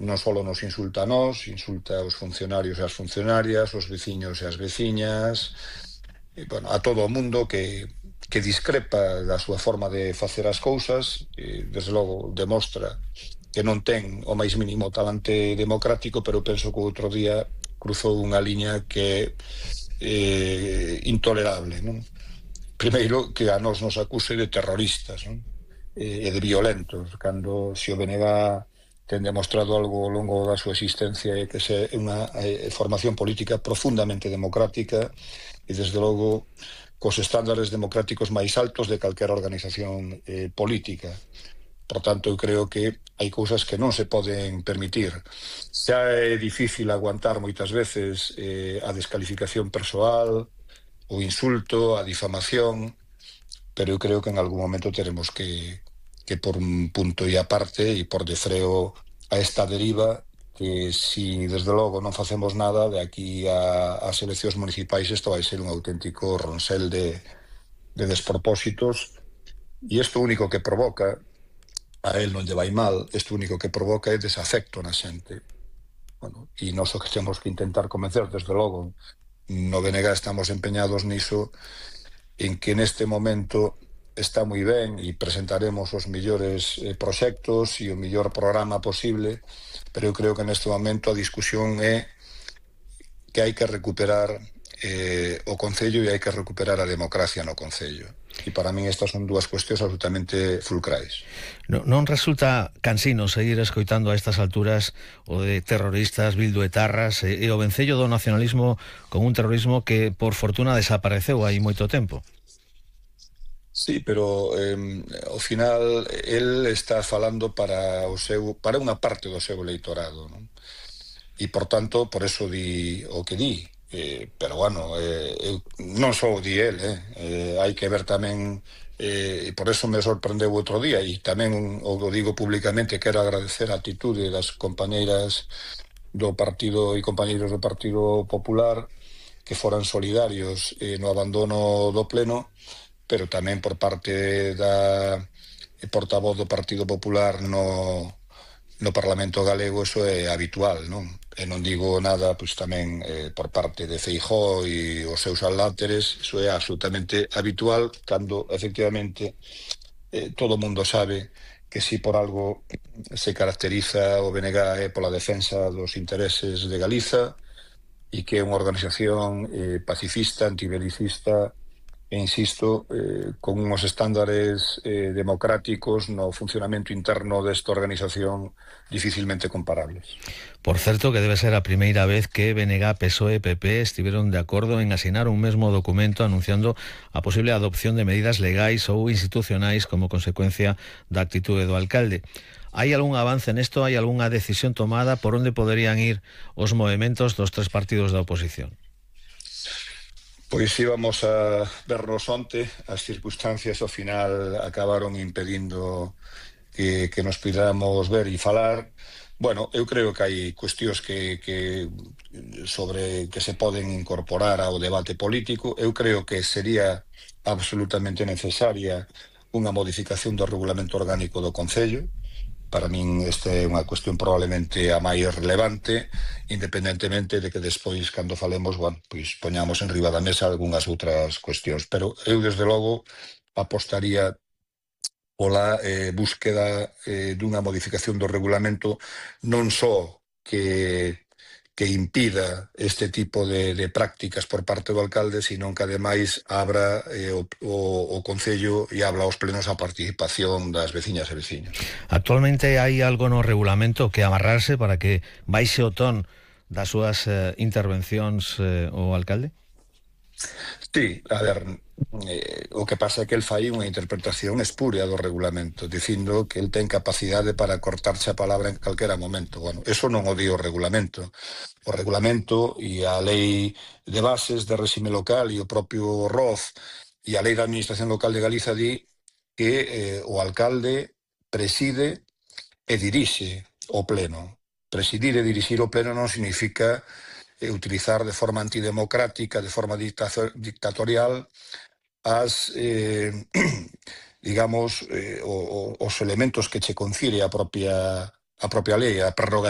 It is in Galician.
non só nos insulta a nós, insulta aos funcionarios e as funcionarias, aos veciños e as veciñas, e, bueno, a todo o mundo que discrepa da súa forma de facer as cousas, e, desde logo, demostra que non ten o máis mínimo talante democrático, pero penso que outro día cruzou unha liña que é intolerable, non? Primeiro, que a nós nos acuse de terroristas, non? E de violentos, cando se o BNG ten demostrado algo ao longo da súa existencia é que é unha formación política profundamente democrática e, desde logo, cos estándares democráticos máis altos de calquera organización política. Por tanto, eu creo que hai cousas que non se poden permitir. Xa é difícil aguantar moitas veces a descalificación persoal, o insulto, a difamación, pero eu creo que en algún momento teremos que por un punto e aparte e por de freo a esta deriva que, si desde logo non facemos nada de aquí ás eleccións municipais, isto vai ser un auténtico ronsel de despropósitos, e isto único que provoca, a él non lle vai mal, isto único que provoca é desafecto na xente. Bueno, e nós o que temos que intentar convencer, desde logo, no BNG estamos empeñados niso, en que neste momento está moi ben e presentaremos os millores proxectos e o millor programa posible, pero eu creo que neste momento a discusión é que hai que recuperar o Concello e hai que recuperar a democracia no Concello. E para min estas son dúas cuestións absolutamente fulcrais. Non resulta cansino seguir escoitando a estas alturas o de terroristas, bilduetarras e o vencello do nacionalismo con un terrorismo que, por fortuna, desapareceu hai moito tempo? Sí, pero ao final el está falando para unha parte do seu eleitorado, non? E, por tanto, por eso di o que di. Pero, bueno, non só o di el, hai que ver tamén, e por eso me sorprendeu outro día, e tamén o digo públicamente, quero agradecer a atitude das compañeiras do partido e compañeiros do Partido Popular que foran solidarios no abandono do pleno, pero tamén por parte da portavoz do Partido Popular no Parlamento galego. Eso é habitual, non? E non digo nada, pois tamén por parte de Feijóo e os seus aláteres. Eso é absolutamente habitual cando, efectivamente, todo o mundo sabe que si por algo se caracteriza o BNG é pola defensa dos intereses de Galiza e que é unha organización pacifista, antibelicista, e insisto, con uns estándares democráticos no funcionamento interno desta organización dificilmente comparables. Por certo, que debe ser a primeira vez que BNG, PSOE e PP estiveron de acordo en asinar un mesmo documento anunciando a posible adopción de medidas legais ou institucionais como consecuencia da actitude do alcalde. Hai algún avance nesto? Hai algunha decisión tomada? Por onde poderían ir os movementos dos tres partidos da oposición? Pois íbamos a vernos onte, as circunstancias ao final acabaron impedindo que nos pudéramos ver e falar. Bueno, eu creo que hai cuestións que se poden incorporar ao debate político. Eu creo que sería absolutamente necesaria unha modificación do regulamento orgánico do Concello. Para min esta é unha cuestión probablemente a máis relevante, independentemente de que despois, cando falemos, bueno, pois poñamos en riba da mesa algunhas outras cuestións. Pero eu, desde logo, apostaría pola búsqueda dunha modificación do regulamento, non só que impida este tipo de prácticas por parte do alcalde, sino que ademais abra o Concello e abra aos plenos a participación das veciñas e veciños. Actualmente hai algo no regulamento que amarrarse para que baixe o ton das súas intervencións o alcalde? Sí, a ver, o que pasa é que el fai unha interpretación espúrea do regulamento, dicindo que el ten capacidade para cortarse a palabra en calquera momento. Bueno, eso non o di o regulamento. O regulamento e a lei de bases de réxime local e o propio ROZ e a lei da Administración Local de Galiza di que o alcalde preside e dirixe o pleno. Presidir e dirixir o pleno non significa utilizar de forma antidemocrática, de forma dictatorial, digamos, os elementos que che confire a propia a propia lei, a prerrogativa